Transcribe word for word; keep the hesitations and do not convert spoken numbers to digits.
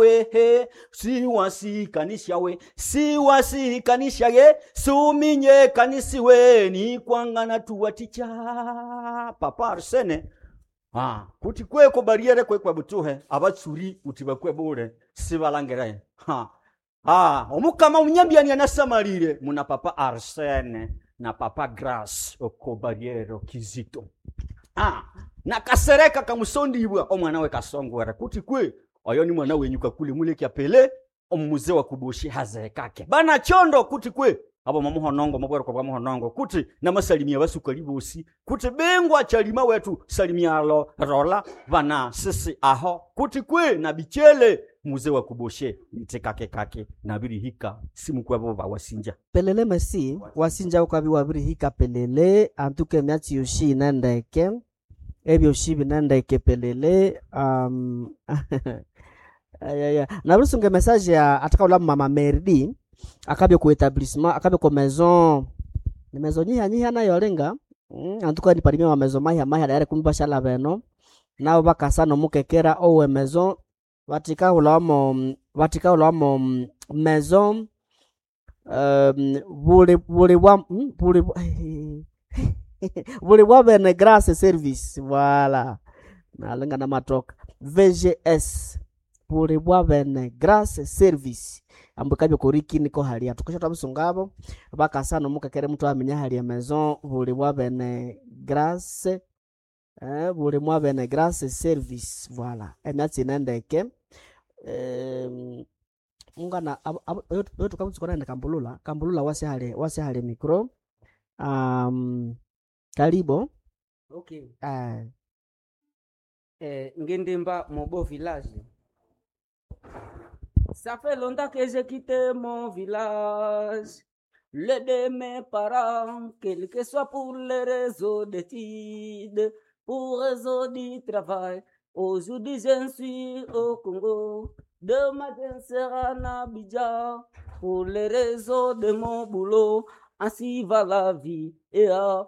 Wehe siwasikanisyawe siwasikanisyaye suminye kanisiwe nikwangana tuwatikya papa Arsene ah, kuti kweko bariere kwekwe butuhe abatsuri uti bakwe bule sibalangire ha ah, omukama umunyambiani anasamalire muna papa Arsene na papa Grace oko bariere Kizito ah, nakasereka kamusondibwa omwana we kasongwera kuti kwe oyo ni mwana wenyu kakule mulekya pele omumuze wa kuboshi hazekake bana chondo kuti kwe abo mamuhonongo mabwereko bwa muhonongo kuti namasalimia basukali bosi kuti bengwa chalima wetu salimialo rola bana sisi aho kuti kwe na bichele muze wa kuboshe nitekakekake nabirihika simukwebo bawasinja Pelele mesi wasinja ukabi wabirihika pelele antuke emyatsi yoshi inendeke ebyoshi binendeke pelele um, ayaya nabirisunga emessage ya atakaula mama Merdi akabya ku etablissement akabya ku maison ni maison nyiha nyiha nayo lenga mm, antuka ni parimi wa maison mahia mahia dayari kumbi bashala beno nabo bakasa nomukekera owe maison batikahulamo batikahulamo maison um, buli buli bwa mm, buli buli bwa bene grace service voilà nalenga na matoka VGS buli bwa bene grace service ambu kabyo koriki niko halia tukisha tabusungabo bakasa nomukekere mtu amenya halia maison buli bwa bene grace eh, buli mwa bene grace service voilà emyatsi nendeke em, ungana oyo kambulula kambulula wasihale wasihale micro um, karibo Okay. eh, Eh, Ngendemba, mon beau village. Ça fait longtemps que j'ai quitté mon village. Le de mes parents, quel que soit pour les réseaux d'études, pour réseau du travail. Aujourd'hui, je suis au Congo. Demain, je serai en Abidjan. Pour les réseaux de mon boulot, ainsi va la vie. Et ah,